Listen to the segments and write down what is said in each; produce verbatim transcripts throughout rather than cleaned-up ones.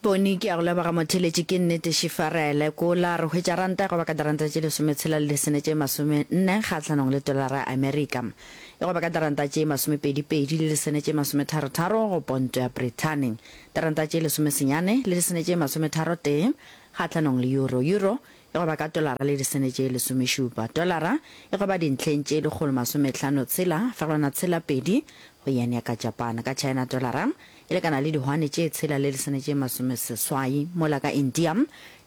Boni, ke a go leboga motheeletši, ke nnete šifarele. Kola, re hwetša ranta e goba ka diranta tše lesometshela le disene tše masome nne kgahlanong le tolara ya Amerika. E goba ka diranta tše masomepedi pedi le disene tše masometharo tharo go ponto ya Brithani. Diranta tše lesomesenyane le disene tše masometharo tee kgahlanong le euro. Euro e goba ka tolara le disene tše lesomešupa. Tolara e goba dintlheng tše lekgolo masomehlano tshela fegelwana tshela pedi go yen ya ka Japan. Ka China tolara e lekana le dihwane tše tshela le disene tše masomeseswai, mola ka India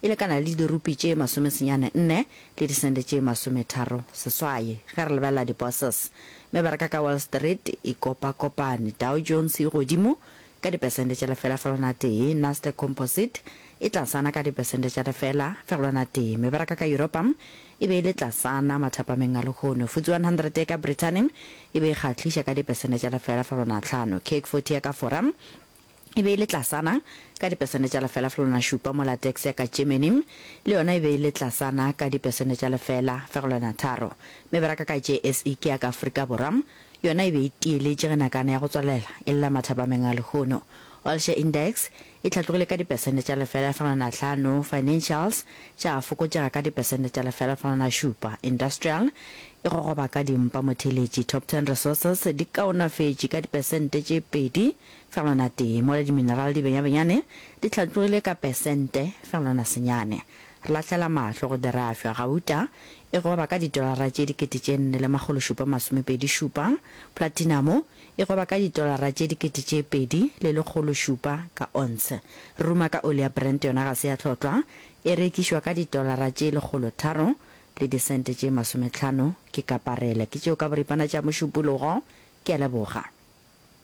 e lekana le dirupi tše masomesenyane nne le disente tše masometharo seswai. Ge re lebelela di-bourses, mebaraka ka Wall Street e kopakopane, Dow Jones e godimo ka dipesente tša lefela fegelwana tee, Nasdaq Composite e tlasana ka dipesente tša lefela fegelwana tee. Mebaraka ka Yuropa e be e le tlasana mathapameng a lehono. F T S E one hundred ya ka Brithani e be e kgahliša ka dipesente tša lefela fegelwana hlano. C A C forty ya ka Fora e be e le tlasana ka dipesente tša lefela fegelwana šupa, mola DAX ya ka Germany le yona e be e le tlasana ka dipesente tša lefela fegelwana tharo. Mebaraka ka J S E ke ya ka Afrika Borwa yona e be e tieletše ge nakana ya go tswalela e lla mathapameng a lehono. All Share Index e hlatlogile ka dipesente tša lefela fegelwana hlano, Financials tša fokotšega ka dipesente tša lefela fegelwana šupa, Industrial e gogoba ka dimpa motheeletši, Top Ten Resources di kaonafetše ka dipesente tše pedi fegelwana tee, mola dimineral di benyabenyane di hlatlogile ka pesente fegelwana senyane. Re lahlela mahlo go dirafša, gauta e goba ka ditolara tše dikete tše nne le makgolo šupa masomepedi šupa, platinamo e goba ka ditolara tše dikete tše pedi le lekgolo šupa ka onse. Re ruma ka oli ya Brent yona ga se ya hlotlwa, e rekišwa ka ditolara tše lekgolo tharo le disente tše masomehlano ke kaparele. Ke tšeo ka boripana tša mošupologo. Ke a leboga.